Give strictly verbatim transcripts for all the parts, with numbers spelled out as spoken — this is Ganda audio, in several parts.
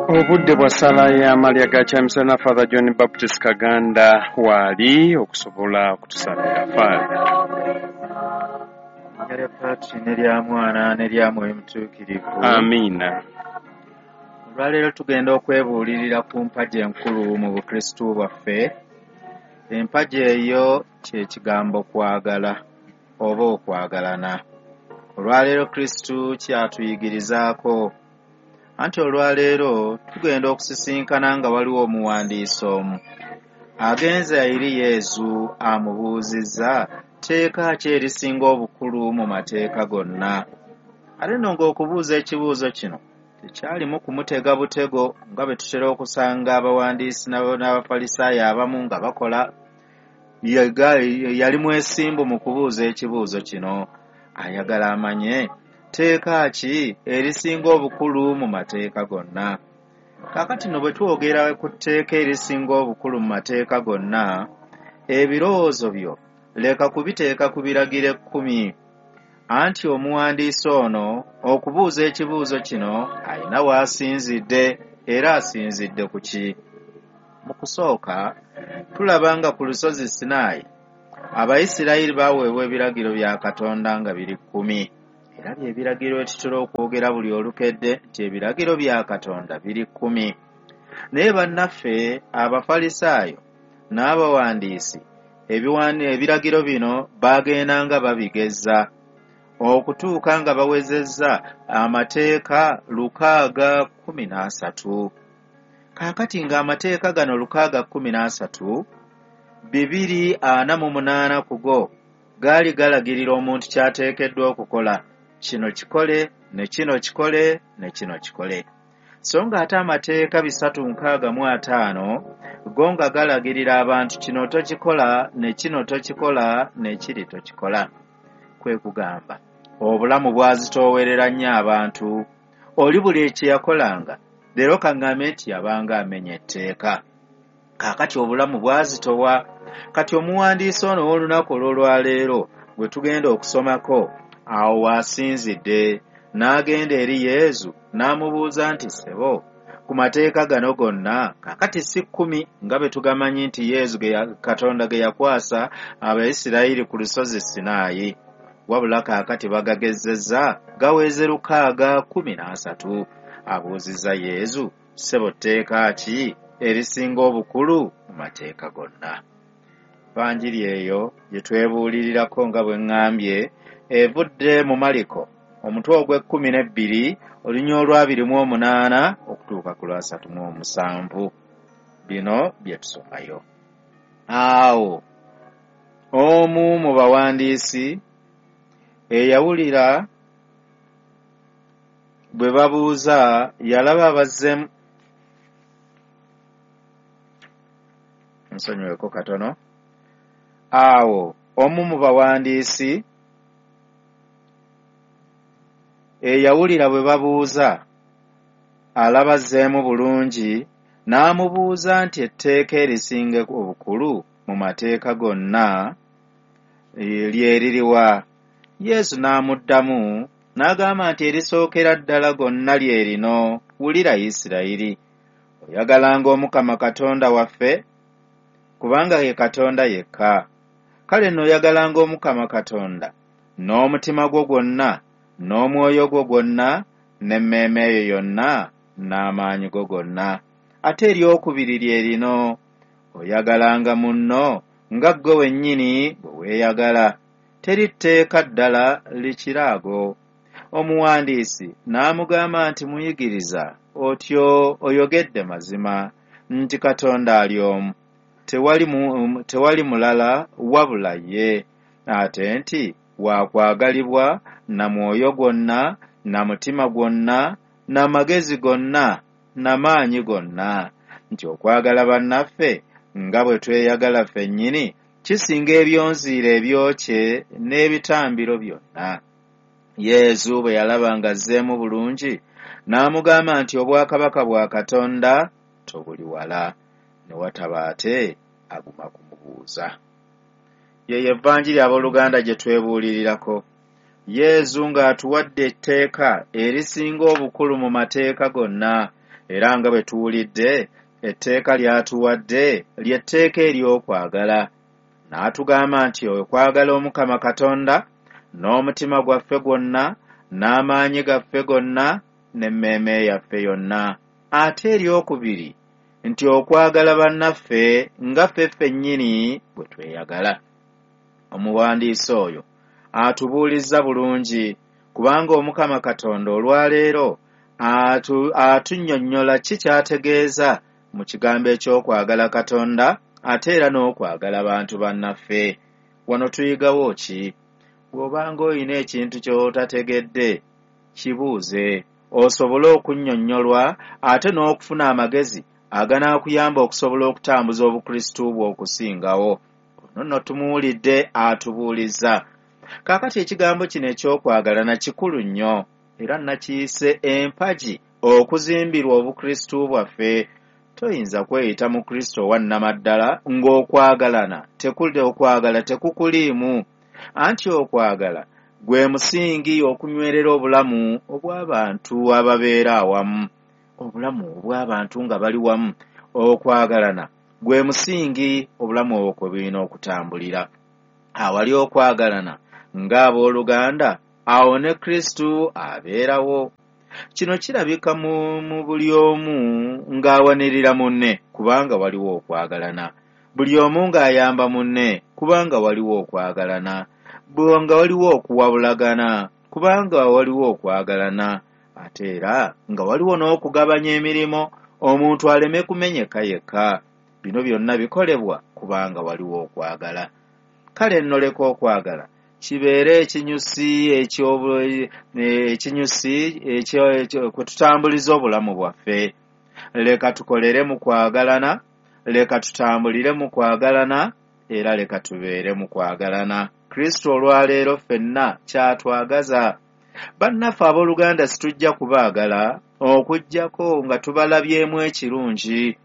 Obudde bwa sala y'amalya ga kyamisana. Father John Baptist Kaganda waali okusobola okutusabira. Father. Erinnya lya Patri ne lya Mwana ne lya Mwoyo Mutuukirivu. Amiina. Olwaleero tugenda okwebuulirira ku mpagi enkulu mu Bukristu bwaffe. Empagi eyo kye kigambo kwagala oba okwagalana. Olwaleero Kristu kyatuyigirizaako. Anti olwaleero tugenda okusisinkana nga waliwo omuwandiisi omu agenze eri Yezu amubuuzizza tteeka ki erisinga obukulu mu mateeka gonna. Ate nno ng'okubuuza ekibuuzo kino tekyalimu kumutega butego nga bwe tutera okusanga abawandiisi n'Abafalisaayo abamu nga bakola. Yali mwesimbu mu kubuuza ekibuuzo kino, ayagala amanye tteeka ki erisinga obukulu mu mateeka gonna. Kaakati nno bwe twogera ku tteeka erisinga obukulu mu mateeka gonna, ebirowoozo byo leka kubiteeka ku biragiro ekkumi. Anti omuwandiisi ono okubuuza ekibuuzo kino alina w'asinzidde, era asinzidde ku ki? Mu kusooka tulaba nga ku lusozi Sinaayi Abayisirayiri baaweebwa ebiragiro bya Katonda nga biri kkumi. Era bye biragiro tutera okwogera buli olukedde nti ebiragiro bya Katonda biri kkumi. Naye bannaffe Abafalisaayo n'abawandiisi ebiragiro bino baagendanga babigeza okutuuka nga bawezezza amateeka lukaaga kkumi n'asatu. Kaakati ng'amateeka gano lukaaga kkumi n'asatu, bibiri ana mu munaana ku go gaali galagirira omuntu ky'ateekeddwa okukola. Kino kikole, ne kino kikole, ne kino kikole. So ng'ate amateeka bisatu nkaaga mu ataano go nga galagirira abantu kino tokikola, ne kino tokikola, ne kiri tokikola. Kwe kugamba obulamu bwazitoowerera nnyo abantu. Oli buli kye yakolanga leero kaŋŋambe nti yabanga amenya etteeka. Kaakati obulamu bwazitowa. Kati omuwandiisi ono ow'olunaku olw'olwaleero gwe tugenda okusomako awo w'asinzidde n'agenda eri Yezu n'amubuuza nti ssebo, ku mateeka gano gonna kaakati si kkumi nga bwe tugamanyi nti Yezu Katonda ge yakwasa Abayisirayiri ku lusozi Sinaayi, wabula kaakati bagagezezza gaweze lukaaga kkumi n'asatu. Abuuzizza Yezu, ssebo tteeka ki erisinga obukulu mu mateeka gonna? Vanjiri eyo gye twebuulirirako nga bwe ŋŋambye evudde mu Maliko omutwe ogw'ekkumi n'ebbiri olunya olw'abiri mu omunaana okutuuka ku lwasatu mu omusanvu. Bino bye tusomayo. Awo omu mu bawandiisi eyawulira bwe babuuza yalaba bazzeemu. Nsonyiweko katono. Awo omu mu bawandiisi eyawulira bwe babuuza alaba azzeemu bulungi n'amubuuza nti etteeka erisinga obukulu mu mateeka gonna lye liriwa? Yesu n'amuddamu n'agamba nti erisookera ddala gonna lye lino, wulira Isirayiri, oyagalanga Omukama Katonda waffe kubanga ye Katonda yekka. Kale nno oyagalanga Omukama Katonda n'omutima gwo gwonna n'omwoyo gwo gwonna n'emmeeme eyo yonna n'amaanyi go gonna. Ate eryokubiri lye lino, oyagalanga munno nga ggwe wennyini bwe weeyagala. Teri tteeka ddala likira ago. Omuwandiisi n'amugamba nti muyigiriza, otyo oyogedde mazima nti Katonda ali omu, tewali, mu, tewali mulala wabula ye, ate nti wakwagalibwa na mwoyo gwonna na mutima gwonna na magezi gonna na maanyi gonna, nti okwagala bannaffe nga bwe tweyagala ffennyini kisinga ebyonziira ebyokye n'ebitambiro byonna. Yezu bwe yalaba ng'azzeemu bulungi n'amugamba nti obwakabaka bwa Katonda tobuli wala. Ne wataba ate aguma kumubuuza. Yeyo evanjiri abooluganda gye twebuulirirako. Yezu ng'atuwadde etteeka erisinga obukulu mu mateeka gonna, Era nga bwe tuwulidde, etteeka ly'atuwadde ly'etteeka ery'okwagala. N'atugamba nti okwagala Omukama Katonda n'omutima gwaffe gwonna, n'amaanyi gaffe gonna, n'emmeeme yaffe yonna. Ate eryokubiri nti okwagala bannaffe nga ffe ffennyini bwe tweyagala. Omuwandiisi oyo atubuulizza bulungi, kubanga Omukama Katonda olwaleero atu, atunnyonnyola ki ky'ategeeza mu kigambo eky'okwagala Katonda ate era n'okwagala bantu bannaffe. Wano tuyigawo ki? Bw'obanga olina ekintu ky'otategedde, kibuuze osobole okunnyonnyolwa ate n'okufuna amagezi aganaakuyamba okusobola okutambuza obukristu bwo okusingawo. Ono nno tumuwulidde atubuulizza. Kaakati ekigambo kino eky'okwagalana kikulu nnyo, era nakiyise empagi okuzimbirwa obukristu bwaffe. Toyinza kweyita mu Kristo owa nnamaddala ng'okwagalana tekuli okwagala tekukuliimu. Anti okwagala gwe musingi okunywerera obulamu obw'abantu ababeera awamu, obulamu obw'abantu nga bali wamu. Okwagalana gwe musingi obulamu obwo kwe bulina okutambulira. Awali okwagalana ng'abooluganda, awo ne Kristo abeerawo. Kino kirabika mu, mu buli omu ng'awanirira munne, kubanga waliwo okwagalana. Buli omu ng'ayamba munne, kubanga waliwo okwagalana. Nga waliwo okuwabulagana, kubanga waliwo okwagalana. Ate era nga waliwo n'okugabanya emirimu, omuntu aleme kumenyeka yekka. Bino byonna bikolebwa kubanga waliwo okwagala. Kale nno leka okwagala kibeere ekinyusi ekinyusi kwe tutambuliza obulamu bwaffe. Leka tukolere mu kwagalana, leka tutambulire mu kwagalana, era leka tubeere mu kwagalana. Kristo olwaleero ffenna kyatwagaza. Bannaffe abooluganda situjja kubaagala okuggyako nga tubalabyemu ekirungi.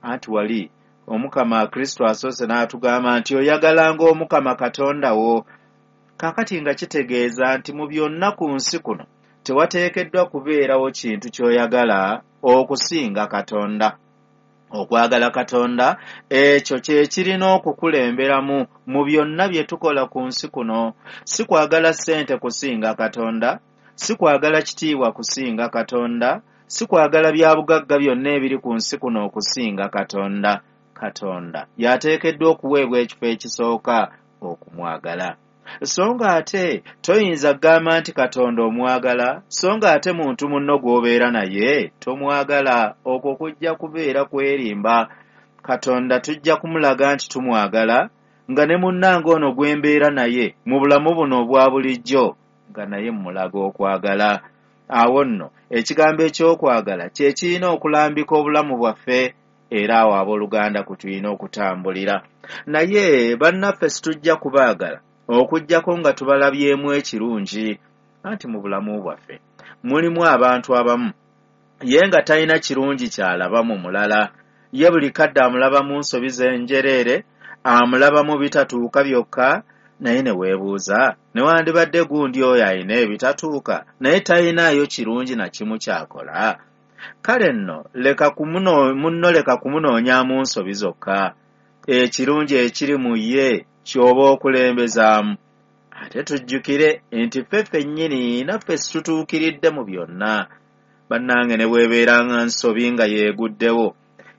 Anti wali Omukama Kristo asoose n'atugamba nti oyagalanga Omukama Katonda wo. Kaakati nga kitegeeza nti mu byonna ku nsi kuno tewateekeddwa kubeerawo kintu ky'oyagala okusinga Katonda. Okwagala Katonda ekyo kye kirina okukulemberamu mu byonna bye tukola ku nsi kuno. Si kwagala ssente kusinga Katonda, si kwagala kitiibwa kusinga Katonda, si kwagala bya bugagga byonna ebiri ku nsi kuno okusinga Katonda. Katonda y'ateekeddwa okuweebwa ekifo ekisooka okumwagala. So nga ate toyinza kugamba nti Katonda omwagala, so nga ate muntu munno gw'obeera naye tomwagala. Okwo kujja kubeera kwerimba. Katonda tujja kumulaga nti tumwagala, nga ne munnange ono gwe mbeera naye mu bulamu buno obwa bulijjo nga naye mmulaga okwagala. Awo nno ekigambo eky'okwagala kye kirina okulambika obulamu bwaffe, era awo abooluganda kwe tulina okutambulira. Naye bannaffe situjja kubaagala okuggyako nga tubalabyemu ekirungi. Anti mu bulamu bwaffe mulimu abantu abamu ye nga talina kirungi ky'alaba mu mulala. Ye buli kadde amulabamu nsobi z'enjereere, amulabamu bitatuuka byokka, naye ne weebuuza newandibadde gundi oyo alina ebitatuuka naye talinaayo kirungi na kimu ky'akola. Kale nno leka munno leka kumunoonyaamu nsobi zokka, ekirungi ekiri mu ye ky'oba okulembezaamu. Ate tujjukire nti ffe ffennyini naffe situtuukiridde mu byonna. Bannange ne bw'ebeeranga nsobi nga yeeguddewo,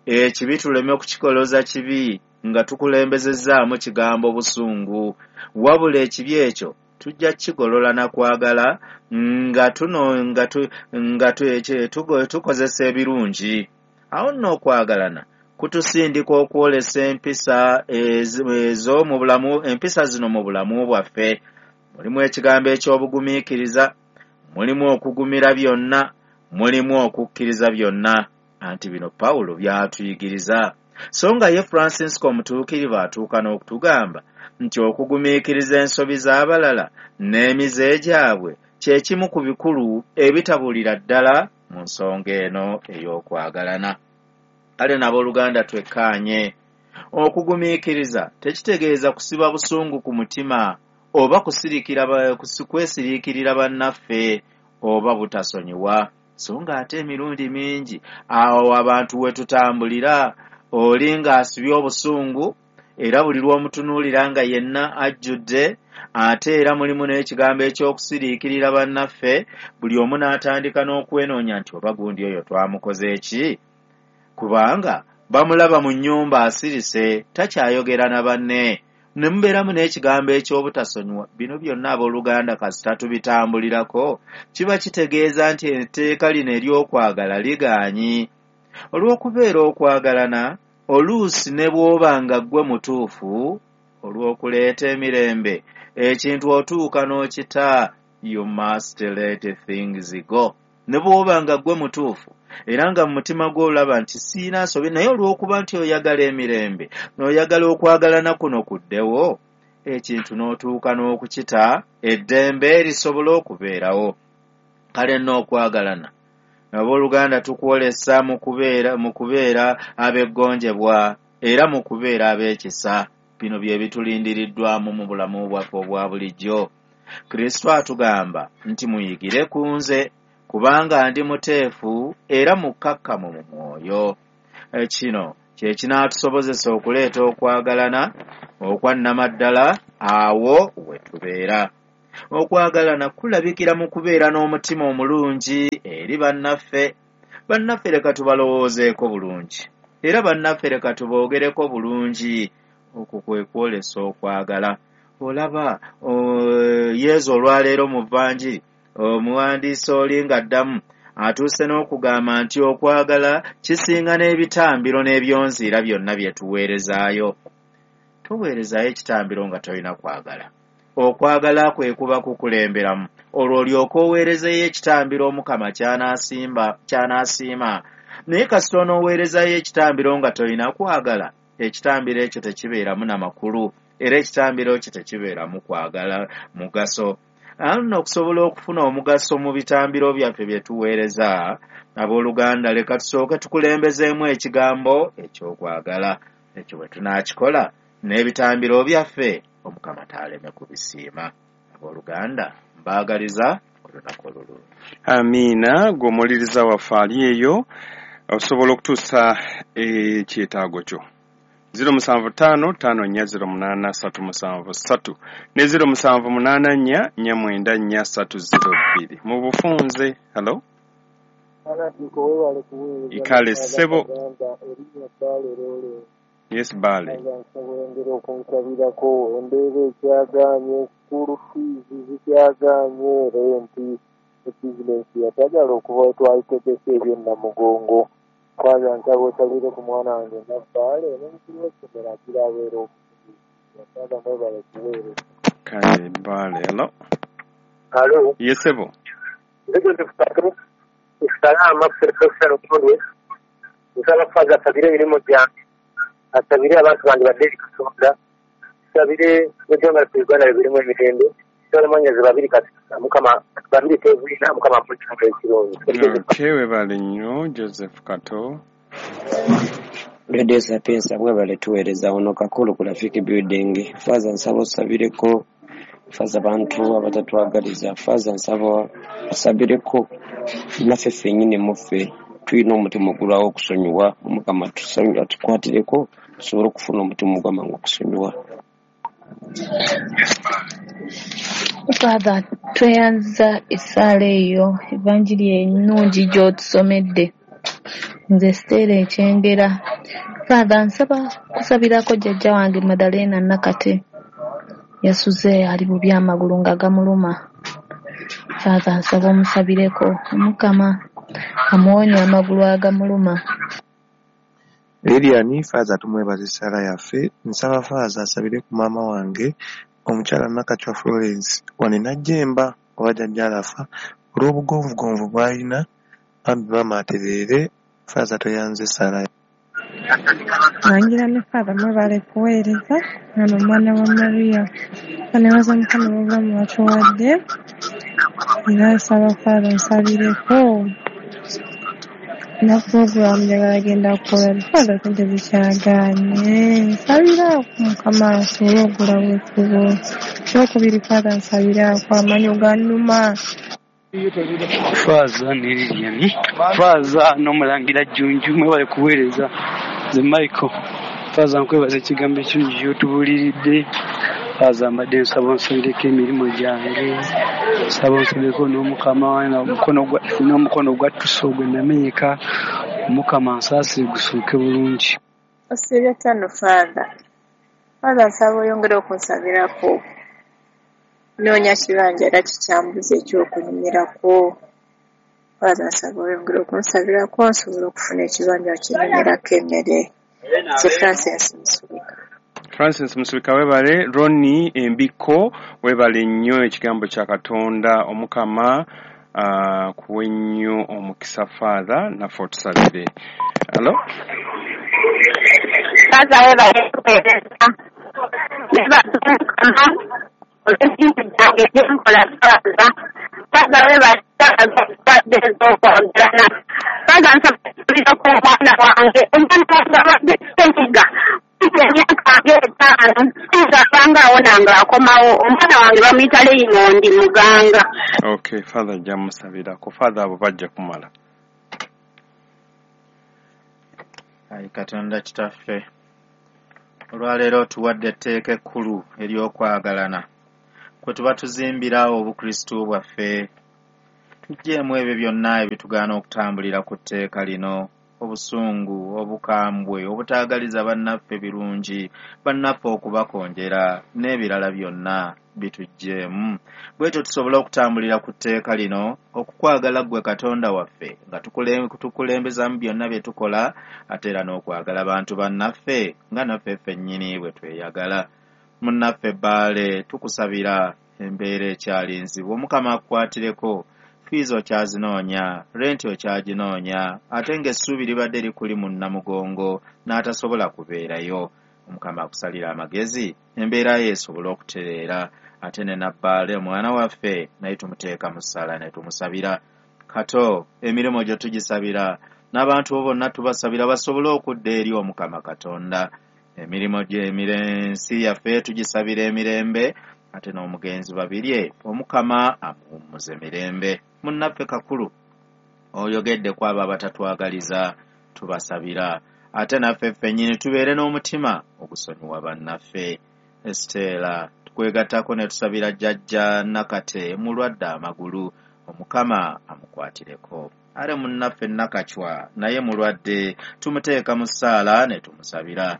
ekibi tuleme kukikoloza kibi nga tukulembezezzaamu kigambo busungu, wabula ekibi ekyo tujja kukigolola na kwagala nga tuno nga tu, nga tukozesa ebirungi. Awo nno okwagalana kutusindika okwolesa empisa ezo mu bulamu, empisa zino mu bulamu bwaffe. Mulimu ekigambo eky'obugumiikiriza, mulimu okugumira byonna, mulimu okukkiriza byonna. Anti bino Pawulo by'atuyigiriza. So nga ye Francisco omutuukirivu atuuka n'okutugamba nti okugumiikiriza ensobi z'abalala n'emize gyabwe kye kimu ku bikulu ebitabulira ddala mu nsonga eno ey'okwagalana. Kale n'abooluganda twekkaanye. Okugumiikiriza tekitegeeza kusiba busungu ku mutima oba kusirikira kwesiriikirira bannaffe oba butasonyiwa. So ng'ate emirundi mingi awo abantu we tutambulira, oli ng'asibye obusungu, era buli lw'omutunuulira nga yenna ajjudde, ate era mulimu n'ekigambo eky'okusiriikirira bannaffe, buli omu n'atandika n'okwenoonya nti oba gundi oyo twamukoze ki? Kubanga bamulaba mu nnyumba asirise, takyayogera na banne. Ne mubeeramu n'ekigambo eky'obutasonyiwa. Bino byonna abooluganda kasita tubitambulirako, kiba kitegeeza nti etteeka lino ery'okwagala ligaanyi. Olw'okubeera okwagalana, oluusi ne bw'oba nga ggwe mutuufu, olw'okuleeta emirembe, ekintu otuuka n'okita, you must let things go. Ne bw'oba nga ggwe mutuufu, era nga mu mutima gwo olaba nti siina nsobi, naye olw'okuba nti oyagala emirembe, n'oyagala okwagalana kuno kuddewo, ekintu n'otuuka n'okukita, eddembe lisobole okubeerawo. Kale nno okwagalana, abooluganda tukwolesa mu kubeera mu kubeera ab'eggonjebwa, era mu kubeera ab'ekisa. Bino bye bitulindiriddwamu mu bulamu bwaffe obwa bulijjo. Kristo atugamba nti muyigire ku nze, kubanga ndi muteefu era mukkakkamu mu mwoyo. Kino kye kinaatusobozesa okuleeta okwagalana okwa nnamaddala awo we tubeera. Okwagalana kulabikira mu kubeera n'omutima omulungi eri bannaffe. Bannaffe leka tubalowoozeeko bulungi, era bannaffe leka tuboogereko bulungi. Okwo kwe kwolesa okwagala. Olaba Yesu olwaleero mu Vanjiri, omuwandiisi oli ng'addamu atuuse n'okugamba nti okwagala kisinga n'ebitambiro n'ebyonziira byonna bye tuweerezaayo. Toweerezaayo ekitambiro nga tolina kwagala. Okwagala kwe kuba kukulemberamu, olwo olyoke oweerezeeyo ekitambiro Omukama ky'anaasimba ky'anaasiima. Naye kasita onooweerezaayo ekitambiro nga tolina kwagala, ekitambiro ekyo tekibeeramu na makulu, era ekitambiro ekyo tekibeeramu kwagala mugaso. Nno okusobola okufuna omugaso mu bitambiro byaffe bye tuweereza, abooluganda leka tusooke tukulembezeemu ekigambo eky'okwagala. Ekyo bwe tunaakikola n'ebitambiro byaffe, Omukama taaleme kubisiima. Abooluganda mbaagaliza olunaku olulungi. Amiina. Gw'omuwuliriza waffe ali eyo, osobola okutuusa ekyetaago kyo. ziro musanvu ttaano ttaano nnya ziro munaana ssatu musanvu ssatu ne ziro musanvu munaana nnya nnya mwenda nnya ssatu ziro bbiri. Mu bufunze. Hello? Ikale ssebo. Yes, Bale. Nsaba okunsabirako embeera ekyagaanye, school fees zikyagaanye, renti, bizinensi yatagala okuba twayitegese eby'ennamugongo. Kwaza nsaba osabire ku mwana wange Nabbaale n'omukulu w'essomero agira abeera omukugu. Kwaza mwebale kuweereza. Kale Bale. Hello? Hello? Yes, ssebo. Nze Joseph Kato, Salama Professor Lutundwe. Nsaba Faaza asabire emirimu gyange, asabire abantu bange badde eri Katonda, asabire eggwanga lyaffe Uganda libirimu emirembe. Nsaba mwannyinaze babiri kati Mukama babiri teziina, Mukama amuwe ekigambo ekirungi. Okay, webale nnyo Joseph Kato. Radio Sapienza mwebale tuweereza wano Kakulu ku Rafiki Building. Faaza nsaba osabireko Faaza abantu abatatwagaliza. Faaza nsaba osabireko naffe ffennyini muffe tulina omutima ogulwawo okusonyiwa. Omukama atukwatireko tusobole okufuna omutima ogw'amangu okusonyiwa. Father, tweyanza essaala eyo, evanjiri ennungi gy'otusomedde. Nze Stella Ekyengera. Father, nsaba kusabirako jjajja wange Madalena Nakate. Yasuze ali bubi amagulu nga gamuluma. Father, nsaba omusabireko Omukama amuwonye amagulu agamuluma. Lilian, Faaza tumwebaza essaala yaffe. Nsaba Faaza asabire ku maama wange omukyala Nakachwa Florence wano Najjemba oba jjajja alafa olw'obugonvugonvu bw'alina, bambi maama atereere. Faaza toyanze essaala. Wangira ne Father mwebale kuweereza ngano omwana wa Maria. Nebaza Mukama olw'obulamu bw'atuwadde, era nsaba Father nsabireko na puroguramu njagala genda kukola. Father sente zikyagaanye, nsabiraako Mukama asobole okugulawo ekkubo. Ekyokubiri Father nsabiraako amanyo gannuma. Faaza ne Lilian, Faaza n'omulangira Jjunju, mwebale kuweereza. Nze Michael. Faaza nkwebaza ekigambo ekirungi ky'otubuuliridde. Faaza mbadde nsaba onsabireko emirimu gyange, nsaba onsabireko n'Omukama n'omukono gwa ttuso gwe namenyeka, Omukama ansaasire gusuuke bulungi. Osiibye ttano Faaza. Faaza nsaba oyongere okunsabirako. Nnoonya kibanja era kikyambuza eky'okulimirako. Faaza nsaba oyongere okunsabirako nsobole okufuna ekibanja kye emmere. Nze Francis Musubika. Francis Musubika webale. Ronnie Embiko webale nnyo ekigambo kya Katonda. Omukama uh, kuwe nnyo omukisa Father naffe otusabire. Hello? Faaza webale kuweereza. Nebaza Omukama olw'ebintu byange bye nkola Faaza. Faaza webale wadde ez'okwagalana. Faaza nsaba kusabirako omwana wange. Omwana wange abadde ssenyiga emyaka ng'etaano singa abanga awona ng'akomawo. Omwana wange bamuyita Raymond Muganga. Okay, Father ajja musabirako. Father abo bajja kumala. Ayi Katonda kitaffe, olwaleero otuwadde etteeka ekkulu ery'okwagalana kwe tuba tuzimbira obukristu bwaffe. Tuggyeemu ebyo byonna ebitugaana okutambulira ku tteeka lino: obusungu, obukambwe, obutaagaliza bannaffe birungi, bannaffe okubakonjera n'ebirala byonna bituggyeemu. Bwetyo tusobole okutambulira ku tteeka lino, okukwagala ggwe Katonda waffe nga tukulembezaamu byonna bye tukola, ate era n'okwagala bantu bannaffe nga naffe ffennyini bwe tweyagala. Munnaffe Bbaale, tukusabira embeera ekyali nzibu, Omukama akukwatireko. Fiizi okyazinoonya, renti okyaginoonya, ate ng'essuubi libadde likuli mu Nnamugongo n'atasobola kubeerayo. Omukama akusalira amagezi, embeera ye esobole okutereera. Ate ne Nabbaale omwana waffe naye tumuteeka mu ssaala ne tumusabira. Kato emirimu gyo tugisabira, n'abantu bo bonna tubasabira basobole okudda eri Omukama Katonda. Emirimu gy'ensi yaffe tugisabira emirembe, ate n'omugenzi Babirye Omukama amuwummuze mirembe. Munnaffe Kakulu, oyogedde ku abo abatatwagaliza, tubasabira. Ate naffe ffennyini tubeere n'omutima ogusonyiwa bannaffe. Estela, tukwegattako ne tusabira Jjajja Nakate mulwadde amagulu, Omukama amukwatireko. Ate munnaffe Nakacwa naye mulwadde, tumuteeka mu ssaala ne tumusabira.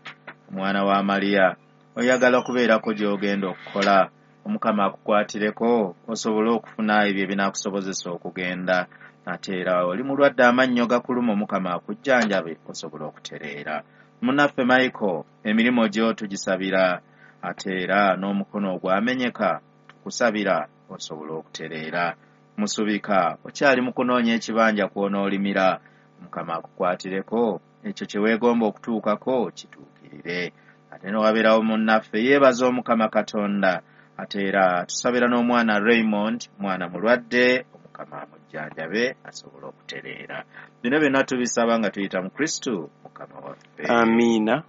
Omwana wa Mariya, oyagala okubeerako gy'ogenda okukola, Omukama akukwatireko osobole okufuna ebyo ebinaakusobozesa okugenda. Ate era oli mulwadde amannyo gakuluma, Omukama akujjanjabe osobole okutereera. Munnaffe Michael, emirimu gyo tugisabira, ate era n'omukono ogwamenyeka tukusabira osobole okutereera. Musubika, okyali mu kunoonya ekibanja kw'onoolimira, Omukama akukwatireko ekyo kye weegomba okutuukako kituukirire. Ate n'owabeerawo munnaffe yeebaza Omukama Katonda. Ate era tusabira n'omwana Raymond, mwana mulwadde, Omukama amujjanjabe asobole okutereera. Bino byonna tubisaba nga tuyita mu Kristu Mukama waffe. Amiina.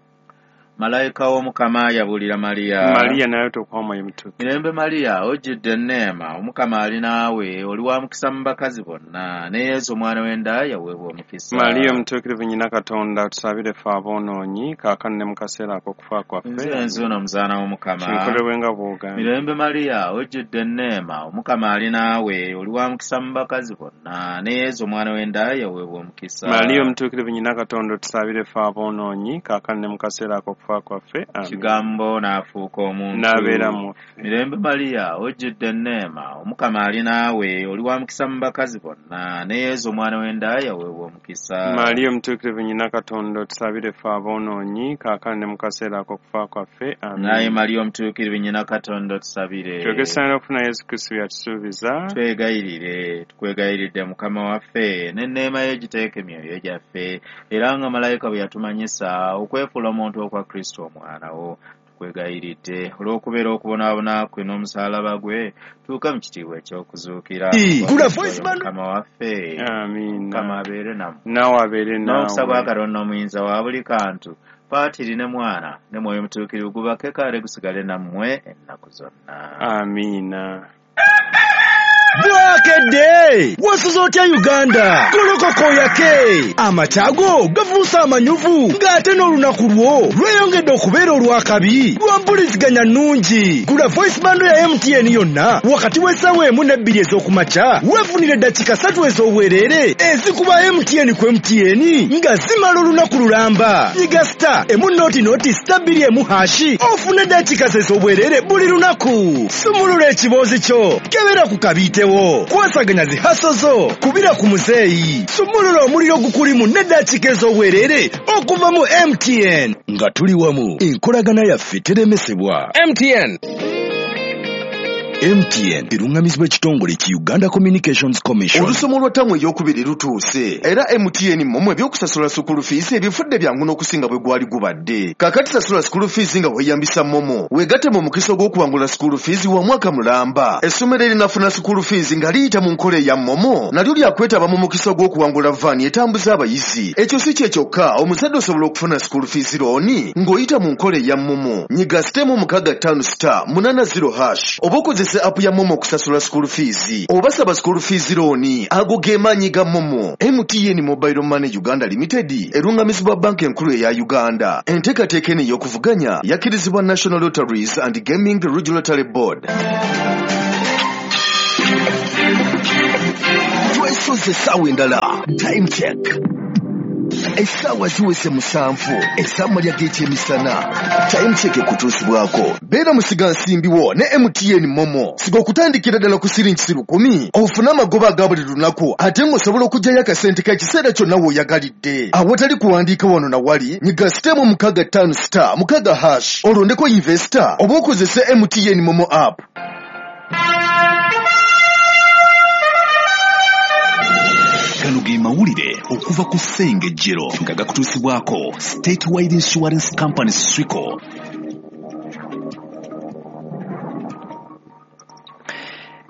Malayika w'Omukama yabuulira Mariya. Mariya naye tokuwa Omwoyo Mutukuvu. Mirembe Mariya, ojjudde enneema, Omukama ali naawe, oli wa mukisa mu bakazi bonna, ne Yesu omwana w'enda yaweebwa omukisa. Mariya omutuukirivu nnyina Katonda, tusabire ffe aboonoonyi, kaakano ne mu kaseera ak'okufa kwaffe. Nze nzuuno omuzaana w'Omukama. Kinkolebwe nga bw'ogambye. Mirembe Mariya, ojjudde enneema, Omukama ali naawe, oli wa mukisa mu bakazi bonna, ne Yesu omwana w'enda yaweebwa omukisa. Mariya omutuukirivu nnyina Katonda, tusabire ffe aboonoonyi, kaakano ne mu kaseera ak'okufa kwaffe. Kigambo n'afuuka omuntu n'abeera mu ffe. Mirembe Mariya, ojjudde enneema, Omukama ali naawe, oli wa mukisa mu bakazi bonna, ne Yesu omwana w'enda yaweebwa omukisa. Mariya omutuukirivu nnyina Katonda, otusabire ffe aboonoonyi, kaakano ne mu kaseera ak'okufa kwaffe. Amiina. Naye Mariya omutuukirivu nnyina Katonda, otusabire. Twegesaanira okufuna Yesu Kristo by'atusuubiza. Twegayirire, tukwegayiridde Mukama waffe, n'enneema ye giteeke emyoyo gyaffe, era nga malayika bwe yatumanyisa okwefuula omuntu okwa Kristo omwana wo. Tukwegayiridde olw'okubeera okubonaabona kwe n'omusaalaba gwe, tuuke mu kitiibwa eky'okuzuukira. Mukama waffe. Amiina. Mukama abeere nammwe. Naawe abeere naawe. N'omukisa gwa Katonda omuyinza wa buli kantu, Patiri ne Mwana ne Mwoyo Mutuukirivu gubake kale gusigale nammwe ennaku zonna. Amiina. Bwakedde! Wasuze otya Uganda? Golokoka oyake! Amakya go gafuuse amanyuvu ng'ate n'olunaku lwo lweyongedde okubeera olw'akabi lwa mpuliziganya nnungi. Gula voice bundle ya M T N yonna wakati w'essaawa emu n'ebbiri ez'okumakya weefunire eddakiika ssatu ez'obwereere ezikuba M T N ku M T N nga zimala olunaku lulamba. Nyiga star emu noti noti star bbiri emu hashi ofune eddakiika ez'obwereere buli lunaku. Sumulula ekiboozi kyo, kebera ku kabiitewo, kwasaganya zi haso zo, kubira ku muzeeyi, sumulula omuliro ogukulimu n'eddakiika ez'obwereere okuva mu M T N. Nga tuli wamu, enkolagana yaffe teremesebwa. M T N. M T N erungamizibwa ekitongole ki Uganda Communications Commission. Olusomo lwa ttamu ey'okubiri lutuuse era M T N mmwe ebyokusasula sukulu fees ebifudde byangu n'okusinga bwe gwali gubadde. Kaakati sasula sukulu fees nga weeyambisa MoMo, weegatte mu mukisa ogw'okuwangula sukulu fees wa mwaka mulamba. Essomero erinafuna sukulu fees nga liyita mu nkola eya MoMo nalyo lyakwetaba mu mukisa ogw'okuwangula vaani etambuza abayizi. Ekyo si kye kyokka, omuzadde osobola okufuna sukulu fees looni ng'oyita mu nkola eya MoMo. Nyiga sitemu mukaaga ttaano star munaana zero hash oba okozesa app ya MoMo okusasula school fees oba saba school fees looni. Ago ge maanyi ga MoMo. M T N Mobile Money Uganda Limited erungamizibwa banka enkulu eya Uganda. Enteekateeka eno ey'okuvuganya yakkirizibwa National Lotteries and Gaming Regulatory Board. Twesoze essaawa endala. Time check. Essaawa ziweze musanvu ez'amalya g'ekyemisana. Time check ekutuusibwako. Beera musigansimbi wo ne M T N MoMo. Siga okutandikira ddala ku siringi lukumi ofune amagoba aga buli lunaku ate ng'osobola okuggyayo akasente k'ekiseera kyonna w'oyagalidde. Awatali kuwandiika wano na wali, nyiga sitemu mukaaga ttaano star mukaaga hash olondeko investor oba okozese M T N MoMo app. Gano ge mawulire okuva ku Ssengejjero nga gakutuusibwako Statewide Insurance Company SWICO.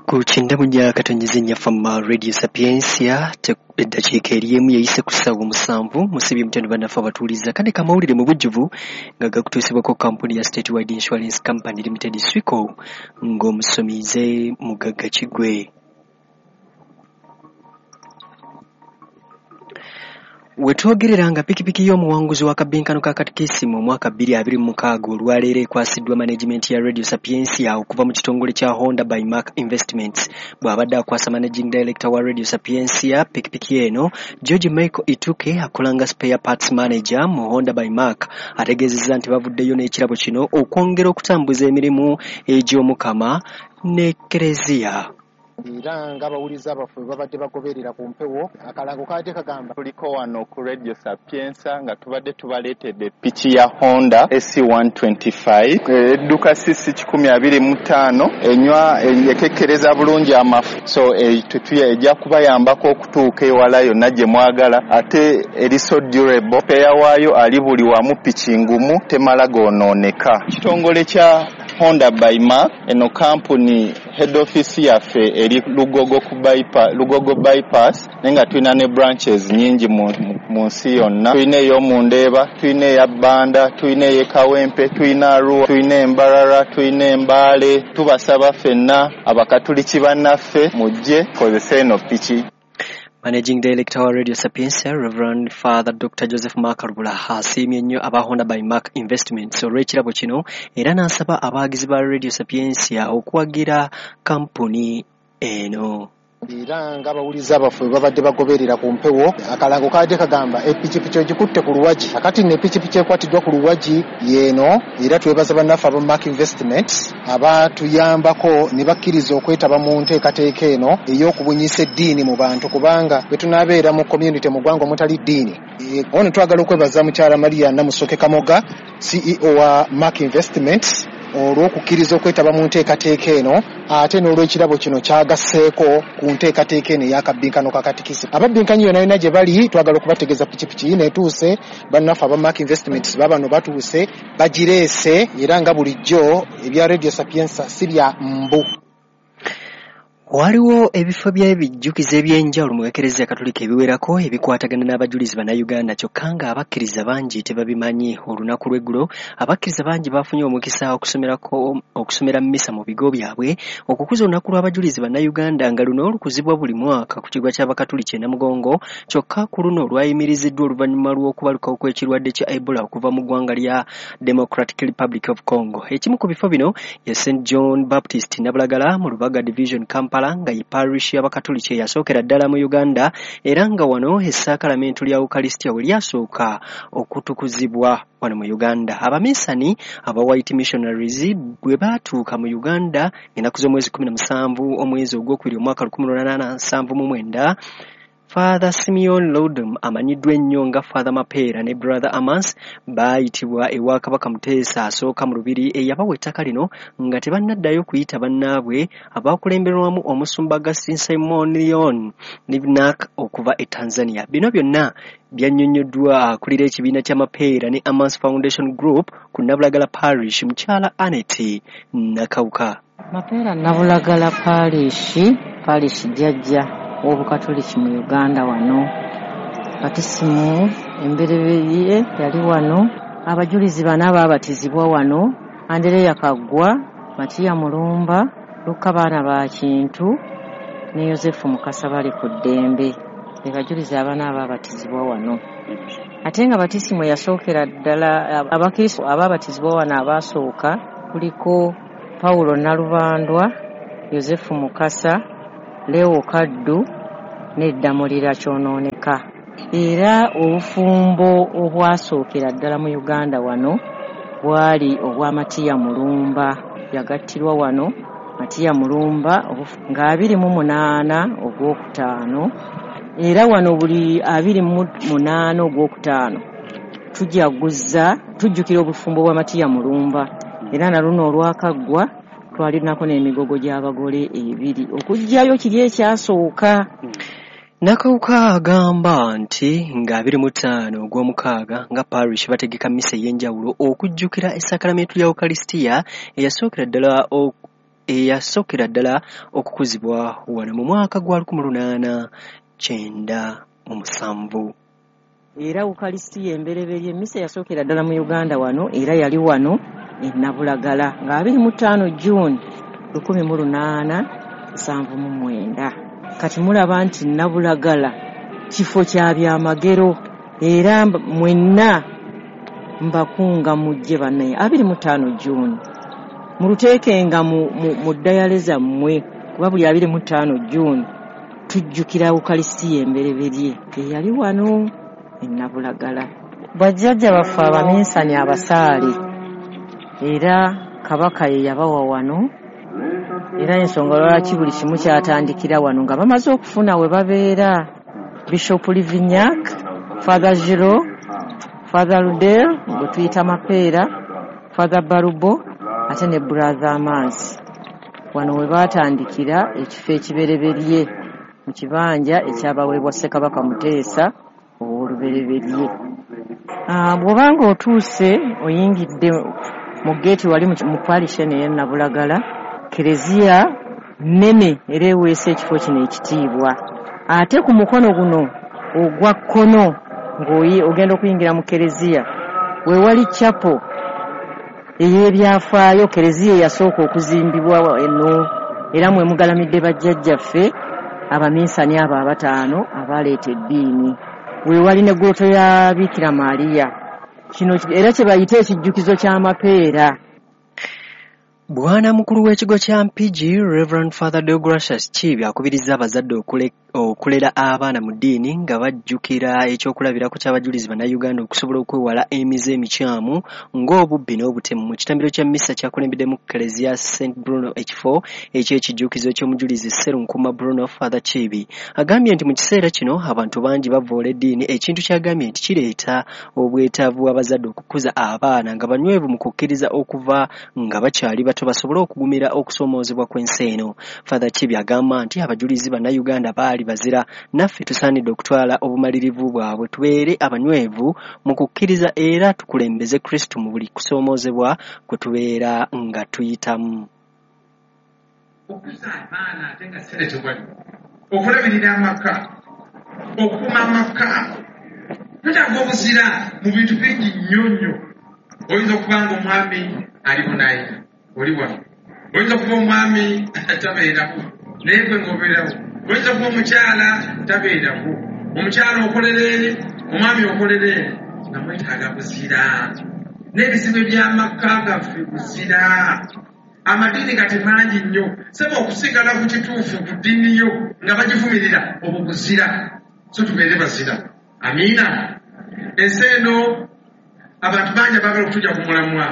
Ku kindamunya katonnyeze nnyaffe Radio Sapientia eddakiika eri emu yeyise ku ssaawa musanvu musibye mutendo bannaffe abatuuliza kane kamawulire mu bujjuvu nga gakutuusibwako kampuni ya Statewide Insurance Company Limited SWICO ng'omusomize Mugagga Kigwe. Wetwogerera nga pikipiki y'omuwanguzi wa kabinkano ka katikisimu omwaka bbiri abiri mu mukaaga olwaleero ekwasiddwa management ya Radio Sapientia okuva mu kitongole kya Honda by Mark Investments. Bw'abadde akwasa managing director wa Radio Sapientia pikipiki eno, George Michael Ituke akolanga spare parts manager mu Honda by Mark ategeezezza nti bavuddeyo n'ekirabo kino okwongera okutambuza emirimu egy'Omukama n'Ekereziya. Era ng'abawuliza abaffe babadde bagoberera ku mpewo akalango kaadde kagamba tuliko wano ku Radio Sapienza nga tubadde tubaleetedde piki ya Honda A C one twenty-five edduka C C kikumi abiri mu ttaano enywa ekekkereza bulungi amafu so ejja kubayambako okutuuka ewala yonna gye mwagala ate eri so durable peya waayo ali buli wamu piki ngumu temala goonooneka. Kitongole kya Honda by Mark eno kampuni head office yaffe eri Lugogo ku bypass, Lugogo bypass naye nga tulina ne branches nyingi mu, mu nsi yonna. Tulina ey'omu Ndeeba, tulina eya Bbanda, tulina ey'e Kawempe, tulina Arua, tulina Embarara, tulina Embaale. Tubasaba ffenna abakatuliki bannaffe mujje kozesa eno piki. Managing Director wa Radio Sapientia Reverend Father Doctor Joseph Makarubula asiimye nnyo aba Honda by Mark Investments olw'ekirabo kino era n'asaba abawagizi ba Radio Sapientia okuwagira kampuni eno. Era ng'abawuliza abaffe babadde bagoberera ku mpewo akalango kaadde kagamba epikipiki ogikutte ku luwagi. Akati nno epikipiki ekwatiddwa ku luwagi y'eno era twebaza bannaffe aba Mark Investments abatuyambako ne bakkiriza okwetaba mu nteekateeka eno ey'okubunyisa eddiini mu bantu kubanga bwe tunaabeera mu community mu ggwanga omutali ddiini. Ono twagala okwebaza mukyala Maria Namusoke Kamoga C E O wa Mark Investments olw'okukkiriza okwetaba mu nteekateeka eno ate n'olwekirabo kino kyagasseeko ku nteekateeka eno ey'akabbinkano ka katikisi. Ababbinkanyi yonna yonna gye bali twagala okubategeeza pikipiki yino etuuse, bannaffe aba Mark Investments baabano batuuse bagireese era nga bulijjo ebya Radio Sapienza si bya mbu. Waliwo ebifo by'ebijjukizo eby'enjawulo mu Ekereziya Katolika ebiwerako ebikwatagana n'abajulizi Bannayuganda, kyokka nga abakkiriza bangi tebabimanyi. Olunaku lw'eggulo abakkiriza bangi bafunye omukisa okusomerako okusomera mmisa mu bigo byabwe okukuza olunaku lw'abajulizi Bannayuganda, nga luno lukuzibwa buli mwaka ku kigwa ky'Abakatuliki e Namugongo, kyokka ku luno lwayimiriziddwa oluvannyuma lw'okubalukawo kw'ekirwadde kya Ebola okuva mu ggwanga lya Democratic Republic of Congo. Ekimu ku bifo bino ye Saint John Baptist Nabulagala mu Lubaga Division, Kampala, nga ye parish y'Abakatoliki eyasookera ddala mu Uganda, era nga wano essaakalamentu lya Ukalistia we lyasooka okutukuzibwa wano mu Uganda. Abaminsani aba White Missionaries bwe baatuuka mu Uganda ennaku z'omwezi kkumi na musanvu omwezi ogwokubiri omwaka lukumi lunaana nsanvu mu mwenda, Father Simeon Lodom amanyiddwa ennyo nga Father Mapeera ne Brother Amans baayitibwa ewa Kabaka Muteesa asooka mu Lubiri eyabawa ettaka lino nga tebannaddayo kuyita bannaabwe abakulemberwamu omusumba Augustine Simon Leon Livnak okuva e Tanzania. Bino byonna byannyonnyoddwa akulira ekibiina kya Mapeera ne Amans Foundation Group ku Nabulagala Parish, mukyala Annette Nakawuka. Mapeera Nabulagala Parish, Parish jjajja w'Obukatoliki mu Uganda wano. Batisimu embereberye yali wano, abajulizi bana baabatizibwa wano: Andereya Kaggwa, Matiya Mulumba, Lukka Baana ba Kintu ne Yosefu Mukasa bali ku ddembe. Be bajulizi abana abaabatizibwa wano. Ate nga batisimu yasookera ddala abakristo abaabatizibwa wano abaasooka kuliko Paulo Nalubandwa, Yosefu Mukasa, Leo Kaddu ne Ddamulira Kyonooneka. Era obufumbo obwasookera ddala mu Uganda wano bwali obwa Matiya Mulumba, yagattirwa wano Matiya Mulumba nga abiri mu munaana ogwokutaano, era wano buli abiri mu munaana ogwokutaano tujaguza tujjukira obufumbo bwa Matiya Mulumba. Era na luno olwakaggwa twalinako n'emigogo gy'abagole ebiri okuggyayo kiri ekyasooka. Nakawuka agamba nti nga abiri mu ttaano ogw'omukaaga nga parish bategeka mmisa ey'enjawulo okujjukira essaakalamentu lya Ukalistia eyasookera ddala eyasookera ddala okukuzibwa wano mu mwaka gwa lukumi lunaana kyenda mu musanvu. Era Ukalistia embereberye emmisa eyasookera ddala mu Uganda wano era yali wano e Nabulagala nga abiri mu ttaano June lukumi mu lunaana nsanvu mu mwenda. Kati mulaba nti Nabulagala kifo kya byamagero, era mwenna mbakunga mujje bannaye abiri mu ttaano June muluteekenga mu, mu, mu ddayale zammwe, kuba buli abiri mu ttaano June tujjukira Ukalistia embereberye eyali wano e Nabulagala. Bajjajja baffe abaminsani abasaale, era Kabaka ye yabawa wano, era ensonga lwaki buli kimu kyatandikira wano nga bamaze okufuna we babeera. Bishop Livignac, Father Giro, Father Rudel gwe tuyita Mapeera, Father Barubo ate ne Brother Amans. Wano we baatandikira ekifo ekibereberye mu kibanja ekyabaweebwa Ssekabaka Muteesa ow'olubereberye. Bw'obanga otuuse oyingidde mu geeti wali mu parish eno ey'e Nabulagala, kereziya nnene era eweesa ekifo kino ekitiibwa. Ate ku mukono guno ogwa kkono ng'ogenda okuyingira mu kereziya we wali chapel ey'ebyafaayo, kereziya eyasooka okuzimbibwa eno, era mwe mugalamidde bajjajjaffe abaminsani abo abataano abaleeta eddiini. We wali ne grotto ya Bikira Maria, kino era kye bayita ekijjukizo ky'amapeera. Bwana mukulu w'ekigo kya Mpigi, Reverend Father Deogratius Kiibi akubirizza abazadde okule okulera abaana mu ddiini nga bajjukira ekyokulabirako ky'abajulizi Bannayuganda okusobola okwewala emize emikyamu ng'obubbi n'obutemu. Mu kitambiro kya mmisa kyakulembeddemu Kereziya Saint Bruno ekifo eky'ekijjukizo ky'omujulizi Sserunkuma Bruno, Father Kiibi agambye nti mu kiseera kino abantu bangi bavvoola eddiini, ekintu ky'agambye nti kireeta obwetaavu bw'abazadde okukuza abaana nga banywevu mu kukkiriza okuva nga bakyali bato basobole okugumira okusoomoozebwa kw'ensi eno. Father Kiibi agamba nti abajulizi Bannayuganda baali bazira, naffe tusaanidde okutwala obumalirivu bwabwe tubeere abanywevu mu kukkiriza era tukulembeze Kristo mu buli kusoomoozebwa kwe tubeera nga tuyitamu. Okuza abaana ate nga ssente tewali, okulabirira amaka, okukuuma amaka, twetaaga obuzira mu bintu bingi nnyo nnyo. Oyinza okuba nga omwami ali bunayi oli wano, oyinza okuba omwami tabeerawo naye gwe ng'obeerawo, oyinza okuba omukyala tabeerawo, omukyala okolera eri, omwami okolera eri, nga mwetaaga buzira. N'ebizibu eby'amaka gaffe buzira. Amadiini kati mangi nnyo, sebo okusigala ku kituufu ku ddiini yo nga bagivumirira obwo buzira. So tubeere bazira. Amiina. Ensi eno abantu bangi abaagala okutujja ku mulamwa,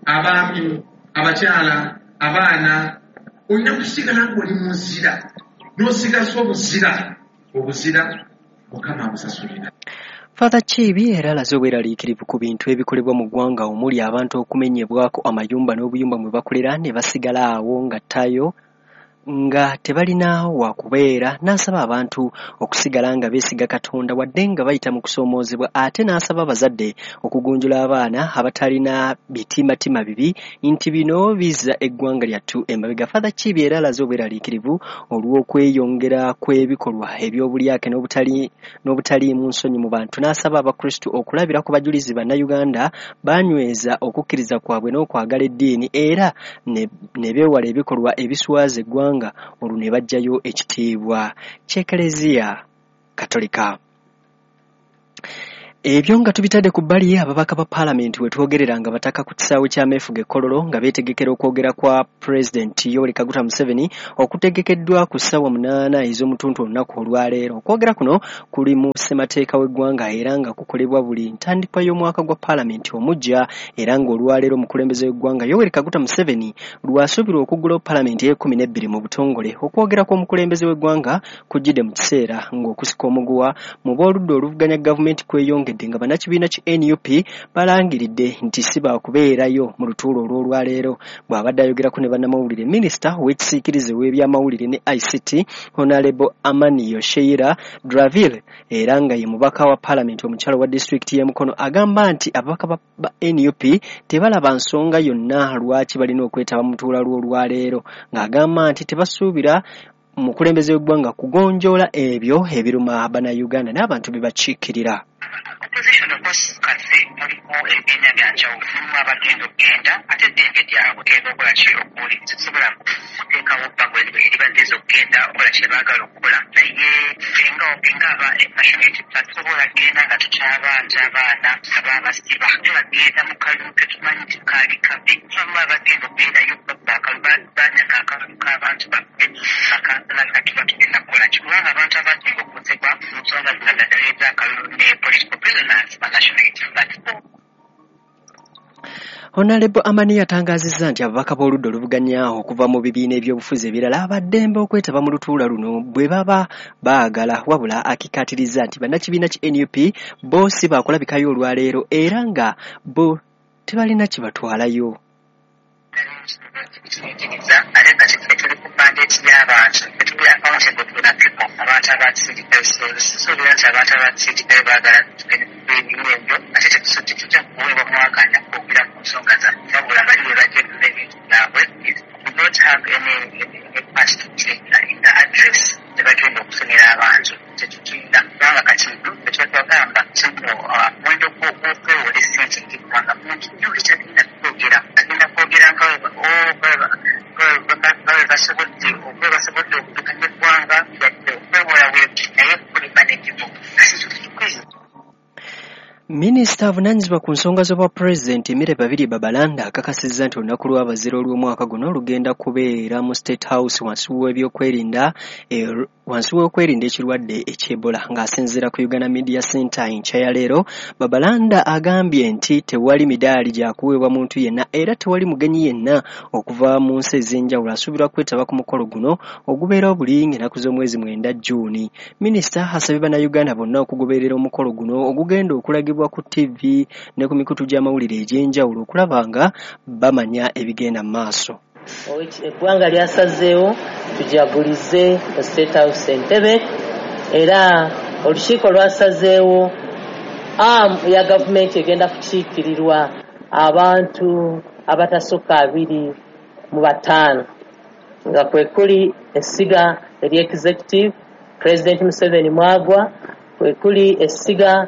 abaami, abakyala, abaana. Olina kusigala ng'oli mu nzira, n'osigaza obuzira. Obuzira Mukama abusasulira. Father Kiibi era alaze obweraliikirivu ku bintu ebikolebwa mu ggwanga omuli abantu okumenyebwako amayumba n'obuyumba mwe bakolera ne basigala awo nga ttayo nga tebalina wakubeera, n'asaba abantu okusigala nga beesiga Katonda wadde nga bayita mu kusoomoozebwa, ate n'asaba abazadde okugunjula abaana abatalina bitimatima bibi nti bino bizza eggwanga lyattu emabega. Father Kiibi era alaze obweraliikirivu olw'okweyongera kw'ebikolwa eby'obulyake n'obutali n'obutaliimu nsonyi mu bantu, n'asaba Abakristu okulabira ku bajulizi Bannayuganda banyweza okukkiriza kwabwe n'okwagala eddiini era ne, ne beewala ebikolwa ebiswaza eggwanga olwo ne baggyayo ekitiibwa ky'Eklezia Katolika. Ebyo nga tubitadde ku bbali, ababaka ba paalamenti we twogerera nga bataka ku kisaawe ky'ameefuga e Kololo nga beetegekera okwogera kwa Pulezidenti Yoweri Kaguta Museveni okutegekeddwa ku ssaawa munaana ez'omutuntu olunaku olwaleero. Okwogera kuno kuli mu ssemateeka w'eggwanga era nga kukolebwa buli ntandikwa y'omwaka gwa paalamenti omuggya, era ng'olwaleero omukulembeze w'eggwanga Yoweri Kaguta Museveni lw'asuubirwa okuggulawo paalamenti ey'ekkumi n'ebbiri mu butongole. Okwogera kw'omukulembeze w'eggwanga kujjidde mu kiseera ng'okusika omuguwa mu b'oludda oluvuganya gavumenti kweyongedde nga bannakibiina ki N U P balangiridde nti si baakubeerayo mu lutuulo olw'olwaleero. Bw'abadde ayogerako ne bannamawulire, minisita ow'ekisiikirize w'ebyamawulire ne I C T Honorable Amaniyo Sheila Draville era nga ye mubaka wa paalamenti omukyala wa disitulikiti y'e Mukono agamba nti ababaka ba N U P tebalaba nsonga yonna lwaki balina okwetaba mu lutuula lw'olwaleero, ng'agamba nti tebasuubira mukulembeze w'eggwanga kugonjoola ebyo ebiruma Bannayuganda n'abantu be bakiikirira. Opposition of kati mulimu ebibiina bya njawulo, mulimu abagenda okugenda ate eddembe lyabwe genda okukola ki okuwuliriza. Tusobola kuteekawo bbago eribaddeeza okugenda okukola kye baagala okukola, naye ffe nga aba National Unity Platform tusobola kugenda nga tukyabanja abaana ababasiba bagenda mu kalulu tetumanyi nti kaali kabi. Abamu abagenda okubeerayo banyaga akalulu k'abantu baffe bakansala kati batugenda kukola ki, kubanga abantu abasinga okukosebwa mu nsonga zino naddala ez'akalulu ne political prisoners ba National Unity Platform. Honorable Amani yatangaazizza nti ababaka b'oludda oluvuganya okuva mu bibiina ebyobufuzi ebirala abaddembe okwetaba mu lutuula luno bwe baba baagala, wabula akikkaatirizza nti bannakibiina ki N U P bo si baakulabikayo olwaleero era nga bo tebalina kibatwalayo. Kiyigiriza ate kati ffe tuli ku mandate y'abantu, tuli accountable to the people, abantu abatusindikayo. Suubira nti abantu abatusindikayo baagala ebimu ebyo, ate tetujja kuweebwa mwakanya kwogera ku nsonga zaffe, wabula bali bwe bajja ebintu byabwe. We don't have any part to play in the address tebagenda okusomera abantu, tetukinda kubanga kati ekyetwagamba kino omuwendo gw'okwewola essente ng'eggwanga mungi nnyo, ekyagenda kwogera agenda kwogera nga bwe basobodde basobodde okudukanya eggwanga yadde okwewola we naye kuli manageable kati tutukwiza. Minisita avunaanyizibwa ku nsonga z'obwapulezidenti Emire Babirye Babalanda akakasizza nti olunaku lw'abazira olw'omwaka guno lugenda kubeera mu State House wansi w'ebyokwerinda wansi w'okwerinda ekirwadde eky'Ebola. Ng'asinziira ku Uganda Media Center enkya ya leero, Babalanda agambye nti tewali midaali gya kuweebwa muntu yenna era tewali mugenyi yenna okuva mu nsi ez'enjawulo asuubirwa kwetaba ku mukolo guno ogubeerawo buli ng'ennaku z'omwezi mwenda June. Minisita asabye Bannayuganda bonna okugoberera omukolo guno ogugenda okulagibwa ku T V ne ku mikutu gy'amawulire egy'enjawulo okulaba nga bamanya ebigenda mu maaso. Eggwanga lyasazeewo tujagulize mu State House Entebbe, era olukiiko lwasazeewo arm ya gavumenti egenda kukiikirirwa abantu abatasukka abiri mu bataano. nga kwe kuli essiga ery'executive President Museveni mwagwa, kwe kuli essiga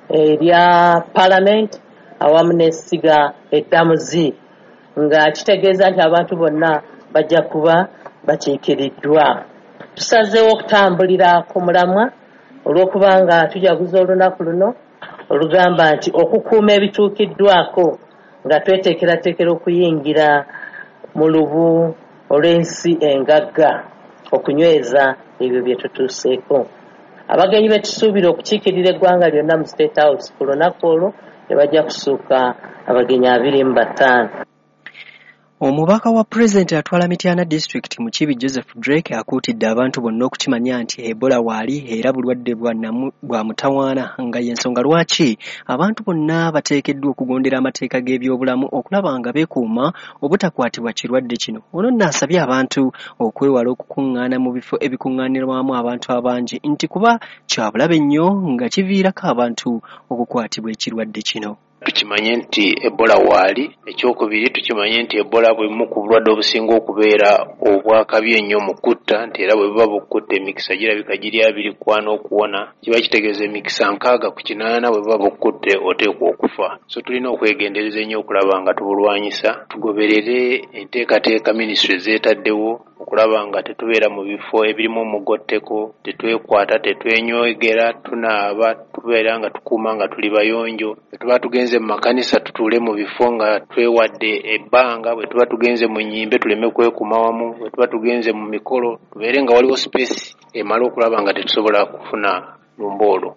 erya parliament awamu n'essiga eddamuzi, nga kitegeeza nti abantu bonna bajja kuba bakiikiriddwa. Tusazeewo okutambulira ku mulamwa olw'okubanga tujaguza olunaku luno olugamba nti okukuuma ebituukiddwako nga tweteekerateekera okuyingira mu lubu olw'ensi engagga okunyweza ebyo bye tutuuseeko. Abagenyi be tusuubira okukiikirira eggwanga lyonna mu State House ku lunaku olwo tebajja kusuuka abagenyi abiri mu bataano. Omubaka wa Pulezidenti atwala Mityana Disitulikiti Mukiibi Joseph Drake akuutidde abantu bonna okukimanya nti Ebola waali era bulwadde bwa namu bwa mutawaana, nga y'ensonga lwaki abantu bonna bateekeddwa okugondera amateeka g'ebyobulamu okulaba nga beekuuma obutakwatibwa kirwadde kino. Ono nno asabye abantu okwewala okukuŋŋaana mu bifo ebikuŋŋaanirwamu abantu abangi nti kuba kya bulabe nnyo nga kiviirako abantu okukwatibwa ekirwadde kino. Tukimanye nti Ebola waali. Ekyokubiri, tukimanye nti Ebola bwe bumu ku bulwadde obusinga okubeera obwakabi ennyo mu kutta, nti era bwe buba bukutta emikisa girabika giri abiri kwana okuwona, kiba kitegeeza emikisa nkaaga ku kinaana bwe buba bukkutte oteekwa okufa. So tulina okwegendereza ennyo okulaba nga tubulwanyisa, tugoberere enteekateeka minisitule zeetaddewo okulaba nga tetubeera mu bifo ebirimu omugotteko, tetwekwata, tetwenywegera, tunaaba, tubeera nga tukuuma nga tuli bayonjo. Bwe tuba tugenze mu makanisa tutuule mu bifo nga twewadde ebbanga, bwe tuba tugenze mu nnyimbe tuleme kwekuma wamu, bwe tuba tugenze mu mikolo tubeere nga waliwo space emala okulaba nga tetusobola kufuna lumba olwo.